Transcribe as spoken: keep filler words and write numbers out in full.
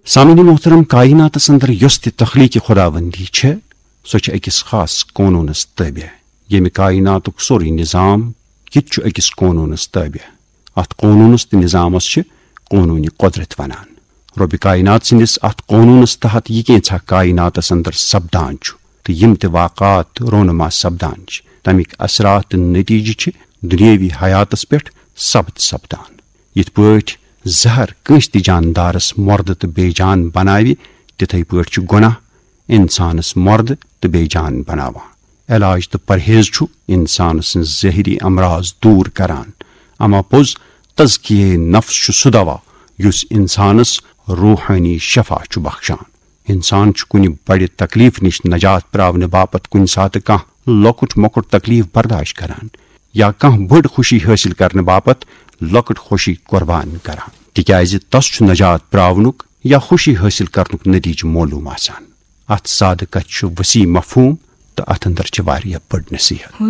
سامعین محترم، کائناتس اندر یۄس تہِ تخلیق خداوندی چھےٚ، سۄ چھِ أکِس خاص قونوٗنس تابع، ییٚمہِ کائناتُک سورُے نظام، یہِ تہِ چھُ أکِس قونوٗنس تابع۔ اتھ قونوٗنس تہٕ نظامس چھِ قونوٗنِ قدرت ونان۔ رۄبِ کائنات سٕنٛدِس اتھ قونوٗنس تحت یہِ کینٛژھا کائناتس اندر سپدان چھُ تہٕ یِم تہِ واقعات رونما سپدان چھِ، تمیِکۍ اثرات تہٕ نتیجہٕ چھِ دنیاوی حیاتس پٮ۪ٹھ ثبت سپدان۔ یِتھ پٲٹھۍ زہر کٲنٛسہِ تہِ جاندارس مردٕ تہٕ بے جان بناوِ، تِتھے پٲٹھۍ چھُ گۄناہ انسانس مردٕ تہٕ بے جان بناوان۔ علاج تہٕ پرہیز چھُ انسان سٕنٛز ظٲہری امراض دوٗر کران، اما پوٚز تزکیہ نفس چھُ سُہ دوا یُس انسانس روحٲنی شفا چھُ بخشان۔ انسان چھُ کُنہِ بڑِ تکلیف نِش نجات پراونہٕ باپتھ کُنہِ ساتہٕ کانٛہہ لۄکُٹ مۄکُٹ تکلیف برداشت کران یا کانٛہہ بٔڑ خوشی حٲصِل کرنہٕ باپتھ لۄکٕٹ خوشی قربان کران، تِکیازِ تس چھُ نجات پراونُک یا خوشی حٲصِل کرنُک نتیجہٕ معلوم آسان۔ اتھ سادٕ کتھِ چھُ وسیع مفہوم تہٕ اتھ اندر چھِ واریاہ بٔڑ نصیحت۔